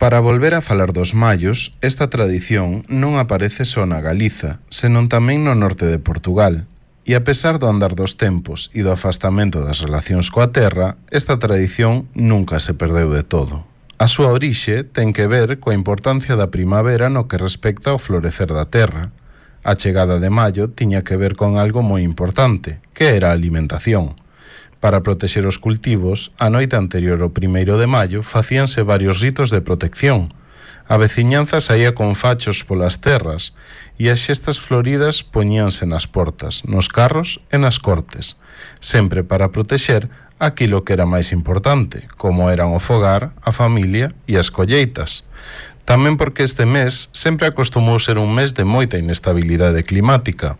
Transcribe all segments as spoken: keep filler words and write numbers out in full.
Para volver a falar dos mallos, esta tradición non aparece só na Galiza, senón tamén no norte de Portugal. E a pesar do andar dos tempos e do afastamento das relacións coa terra, esta tradición nunca se perdeu de todo. A súa orixe ten que ver coa importancia da primavera no que respecta ao florecer da terra. A chegada de maio tiña que ver con algo moi importante, que era a alimentación. Para protexer os cultivos, a noite anterior ao primeiro de maio facíanse varios ritos de protección. A veciñanza saía con fachos polas terras e as xestas floridas poñíanse nas portas, nos carros e nas cortes, sempre para protexer aquilo que era máis importante, como eran o fogar, a familia e as colleitas. Tamén porque este mes sempre acostumou ser un mes de moita inestabilidade climática.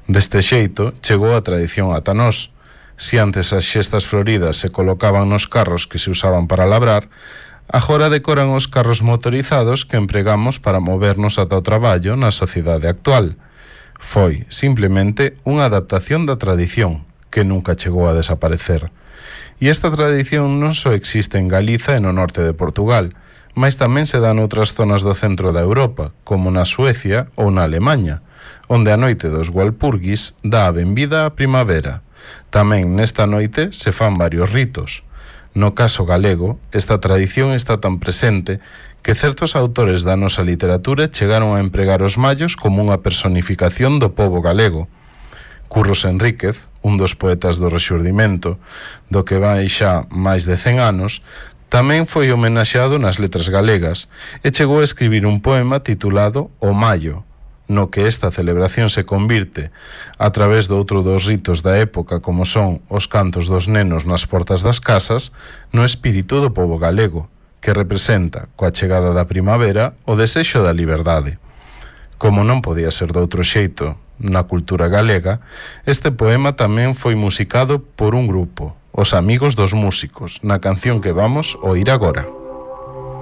Deste xeito, chegou a tradición ata nós. Si antes as xestas floridas se colocaban nos carros que se usaban para labrar, agora decoran os carros motorizados que empregamos para movernos ata o traballo na sociedade actual. Foi, simplemente, unha adaptación da tradición, que nunca chegou a desaparecer. E esta tradición non só existe en Galiza e no norte de Portugal, mas tamén se dá noutras zonas do centro da Europa, como na Suecia ou na Alemanha, onde a noite dos Walpurgis dá a benvida á primavera. Tamén nesta noite se fan varios ritos. No caso galego, esta tradición está tan presente que certos autores da nosa literatura chegaron a empregar os mallos como unha personificación do pobo galego. Curros Enríquez, un dos poetas do Rexurdimento, do que vai xa máis de cen anos, tamén foi homenaxeado nas letras galegas e chegou a escribir un poema titulado O Mallo, no que esta celebración se convirte, a través de outro dos ritos da época como son os cantos dos nenos nas portas das casas, no espírito do pobo galego, que representa, coa chegada da primavera, o desexo da liberdade. Como non podía ser de outro xeito na cultura galega, este poema tamén foi musicado por un grupo, os Amigos dos Músicos, na canción que vamos oír agora.